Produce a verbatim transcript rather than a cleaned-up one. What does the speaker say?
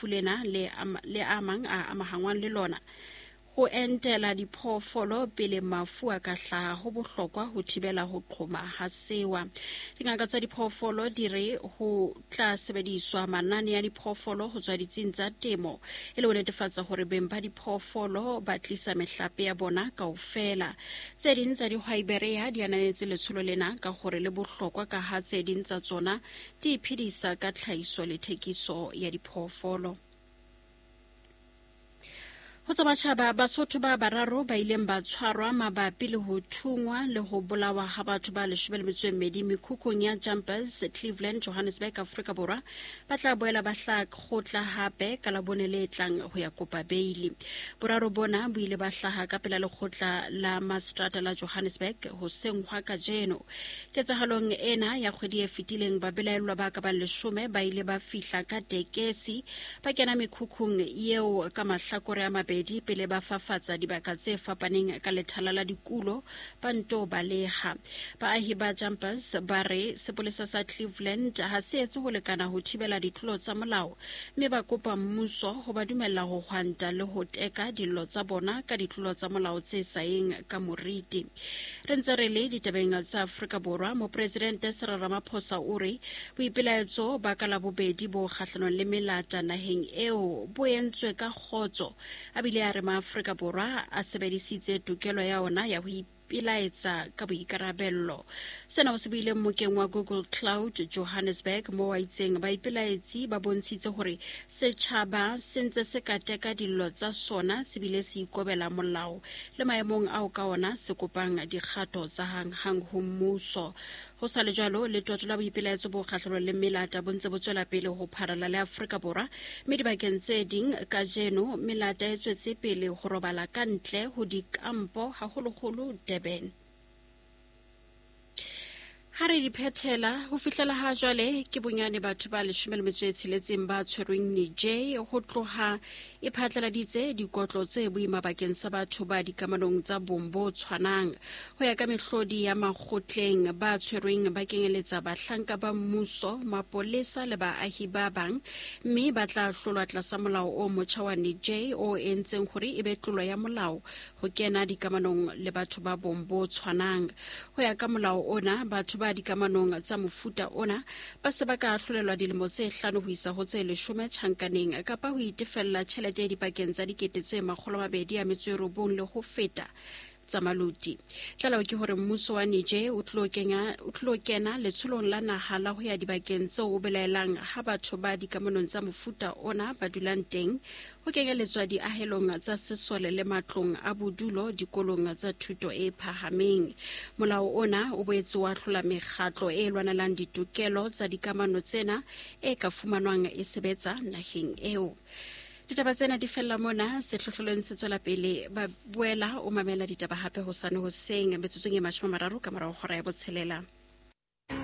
lefu lena le le a mang a amahangwang le lona. Ho entela diphoofolo pele mafu a ka hlaha ho bohlokwa ho thibela ho qhoma ha sewa. Dingaka tsa diphoofolo di re ho tla sebediswa manane a diphoofolo ho tswa ditsing tsa temo e le ho netefatsa hore beng ba diphoofolo ba tlisa mehlape ya bona kaofela. Tse ding tsa dihwai Berea di ananetse letsholo lena ka hore le bohlokwa ka ha tse ding tsa tsona di iphedisa ka tlhahiso le thekiso ya diphoofolo. Ho tsa matjhaba, Basotho ba bararo ba ileng ba tshwarwa mabapi le ho thungwa le ho bolawa ha batho ba leshome le metso e mmedi mekhukhung ya Jumpers, Cleveland, Johannesburg, Afrika Borwa, ba tla boela ba hlaha kgotla hape ka Labone le tlang ho ya kopa beili. Boraro bona bo ile ba hlaha ka pela lekgotla la Mastrata la Johannesburg hoseng hwa kajeno. Ketsahalong ena ya kgwedi e fetileng, babelaellwa ba ka bang leshome ba ile ba fihla ka tekesi ba kena mekhukhung eo ka mahlakore a mabedi pele ba fafatsa dibaka tse fapaneng ka lethala la dikulo ba nto baleha. Baahi ba Jumpers ba re sepolesa sa Cleveland ha se etse ho lekana ho thibela ditlolo tsa molao, mme ba kopa mmuso ho ba dumella ho hwanta le ho teka dillo tsa bona ka ditlolo tsa molao tse sa yeng ka moriti. Re ntse re le ditabeng tsa Afrika Borwa, Mopresidente Cyril Ramaphosa o re boipelaetso ba ka Labobedi bo kgahlanong le melata naheng eo bo entswe ka kgotso. A bile a re maAfrika Borwa a sebedisitse tokelo ya ona ya ho ipelaetsa ka boikarabello. Sena o se buile mmokeng wa Google Cloud Johannesburg moo a itseng baipelaetsi ba bontshitse hore setjhaba se ntse se ka teka dillo tsa sona se bile se ikobela molao le maemong ao ka ona se kopang dikgato tsa hanghang ho mmuso. Ho sa le jwalo, letoto la boipelaetso bo kgahlanong le melata bo ntse bo tswela pele ho pharalla le Afrika Borwa, mme dibakeng tse ding kajeno melata e tswetse pele ho robala ka ntle ho dikampo, haholoholo Durban. Ha re di phethela, ho fihlela ha jwale ke bonyane batho ba leshome le metso e tsheletseng ba tshwerweng Niger ho tloha e phatlaladitse dikotlo tse boima bakeng sa batho ba dikamanong tsa bong bo tshwanang. Ho ya ka mehlodi ya makgotleng, ba tshwerweng ba kenyeletsa bahlanka ba mmuso, mapolesa le baahi ba bang, mme ba tla hlolwa tlasa molao o motjha wa Niger o entseng hore e be tlolo ya molao ho kena dikamanong le batho ba bong bo tshwanang. Ho ya ka molao ona, batho ba dikamanong tsa mofuta ona ba se ba ka ahlolelwa dilemo tse hlano ho isa ho tse leshome tjhankaneng kapa ho itefella tjhelete e dipakeng tsa dikete tse makgolo a mabedi a metso e robong le ho feta tsa maluti. Tlaleho ke hore mmuso wa Niger o tlo kenya o tlo kena letsholong la naha la ho ya dibakeng tseo o belaelang ha batho ba dikamanong tsa mofuta ona ba dulang teng, ho kenyeletswa diahelong tsa sesole le matlong a bodulo dikolong tsa thuto e phahameng. Molao ona o boetse wa hlola mekgatlo e lwanelang ditokelo tsa dikamano tsena e ka fumanwang e sebetsa naheng eo. Ditaba tsena di fella mona, sehlohlolong se tswela pele. Ba boela o mamela ditaba hape hosane hoseng metsotsong e mashome a mararo ka morao hora ya botshelela.